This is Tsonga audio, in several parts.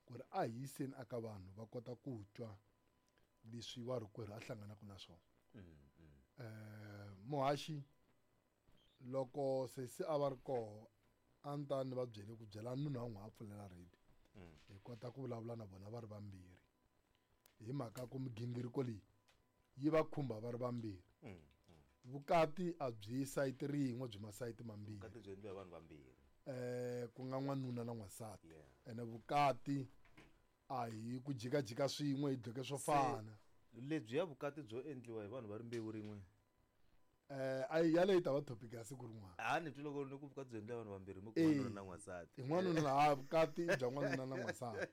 Ku ri a hi yiseni aka vanhu va kota ku twa leswi warikwerhu a hlanganaka na swona. Muhaxi loko sesi a va ri koho a ni ta ni va byele ku byela nuna wa n'wi a pfulela radio hi kota ku vulavula na vona va ri vambirhi hi mhaka ku migingiriko leyi yi va khumba va ri vambirhi. Vukati a byi sayiti rin'we byi masayiti mambirhi. Vukati byi endliwa hi vanhu vambirhi. Ku nga n'wanuna na n'wansati. Ene vukati a hi ku jikajika swin'we hi dloke swo fana. Lebyiya vukati byo endliwa hi vanhu va rimbewu rin'we. Ayi yaleyo yi ta va topic ya siku rin'wana. A ni twi loko ni ku vukati byi endliwa hi vanhu vambirhi mi ku n'wanuna na n'wansati. Hi n'wanuna ha vukati i bya n'wanuna na n'wansati.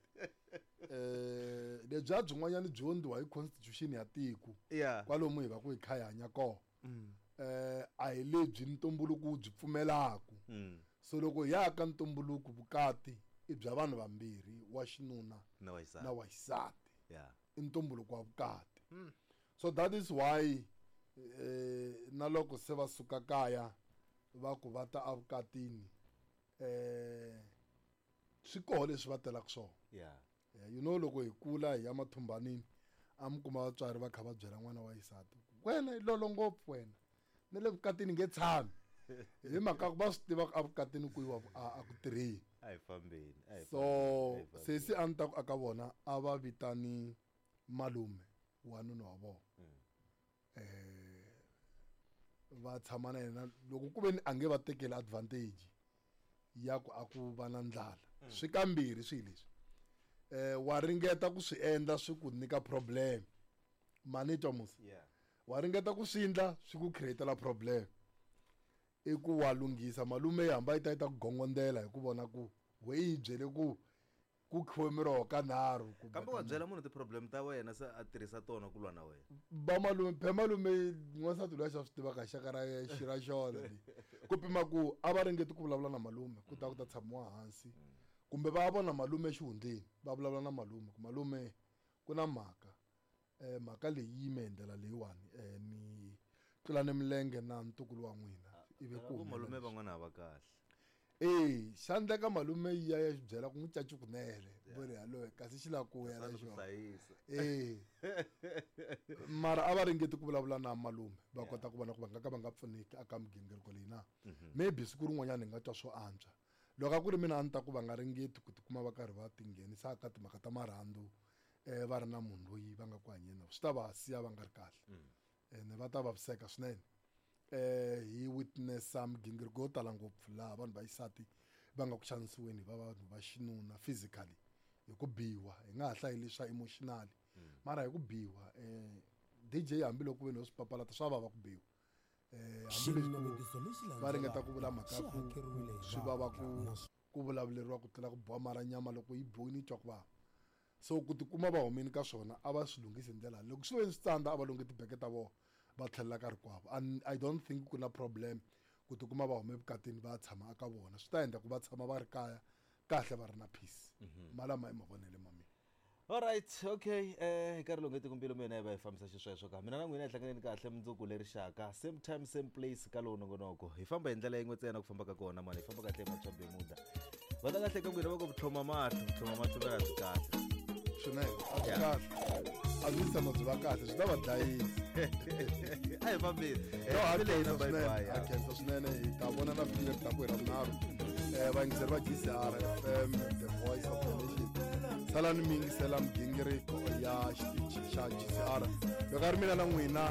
Lebyiya byin'wanyana byi endliwa hi constitution ya tiko. Kwalomu hi va ku hi kha hi hanya kona. A hi lebyi ntumbuluko wu byi pfumelaku. So loko hi ya ka ntumbuluko vukati i bya vanhu vambirhi wa xinuna na wa xisati. I ntumbuluko wa vukati. So that is why na loko se va suka kaya va ku va ta evukatini swi koho leswi va telaka swona. You know loko hi kula hi ya mathumbanini a mi kuma vatswari va kha va byela n'wana wa xisati wena i lolo ngopfu wena ni le vukatini nge tshami hi mhaka ku va swi tiva ku evukatini ku yiwa a ku tirheni. A hi fambeni, a hi So fambeni, a hi fambeni. Sesi a ni ta ku aka vona a va vitani malume wa nuna wa vona. Va tshama na yena loko ku ve ni a nge va tekeli advantage ya ku a ku va na ndlala. Swi kambirhi swi leswi. Wa ringeta ku swi endla swi ku nyika problem. Mani twa musi? Wa ringeta ku swi endla swi ku createla problem. I ku wa lunghisa malume yi hamba yi ta yi ta ku gongondela hi ku vona ku we yi byele ku ku khiwe miroho ka nharhu kumbe Kambe wa ka byela mune. munhu ti-problem ta wena se a tirhisa tona ku lwa na wena. Ba malume, phe malume n'wansati loyi a xa swi tivaka xaka ra xi ra xona leyi. Ku pima ku a va ringeti ku vulavula na malume ku ta ku ta tshamiwa hansi kumbe va vona malume exihundleni va vulavula na malume ku malume ku na mhaka. Mhaka leyi yi yime hi ndlela leyiwani ni tlulane milenge na ntukulu wa n'wina ivi ku Vo malume humelela leswi. van'wana a va kahle. Xa endleka malume yi ya ya xi byela ku n'wi caci kunene vo ri hallo kasi xi lava ku ya na Swa ku xona. hlayisa. Mara a va ringeti ku vulavula na malume va kota ku vona ku va nga ka va nga pfuneki aka migingiriko leyi na. Maybe siku rin'wanyana hi nga twa swo antswa. Loko a ku ri mina a ni ta ku va nga ringeti ku tikuma va karhi va tinghenisa ka timhaka ta marhandzu va ri na munhu loyi va nga ku hanyeni na swi ta va siya va nga ri kahle. Ene va ta vaviseka swinene. Hi witnessa migingiriko yo tala ngopfu laha vanhu va xisati va nga ku xanisiweni hi va vanhu va xinuna physically hi ku biwa hi nga ha hlayi leswa emotionally mara hi ku biwa DJ hambiloko ve no swi papalata swa vava ku biwa. Hambileswi ku va ringeta ku vula mhaka ku swi vava ku vulavuleriwa ku tlula ku biwa mara nyama loko yi biwile yi twa ku vava. So ku tikuma va humile ka swona a va swi lunghisi hi ndlela loko swi ve swi tsandza a va lunghi tibeke ta vona va tlhelela ka rikwavo. And I don't think ku na problem ku tikuma va hume evukatini va tshama aka vona swi ta endla ku va tshama va ri kaya kahle va ri na peace. Malama i mavonelo ma mina. All right, okay. Nkarhi lowu nge tiko mbilu mina hi va hi fambisa xisweswo ka mina na n'wina hi hlanganeni kahle mundzuku leri xaka same time same place ka lowu nongonoko hi famba hi ndlela yin'we ntsena ku famba ka kona mani hi famba kahle hi matshwa bemuda va ta kahle ka n'wina va ku vutlhoma mahlo vutlhoma mahlo va byi kahle swinene a byi kahle a byi tshama byi va kahle swi ta va dlayisa a hi fambeni No, a Bye khensa bye, swinene bye, a khensa swinene hi ta vona na vhiki leri taka hi ravunharhu vayingiseri va GCR FM the voice of the nation salani mi yingisela migingiriko ya xitichi xa GCR loko a ri mina na n'wina.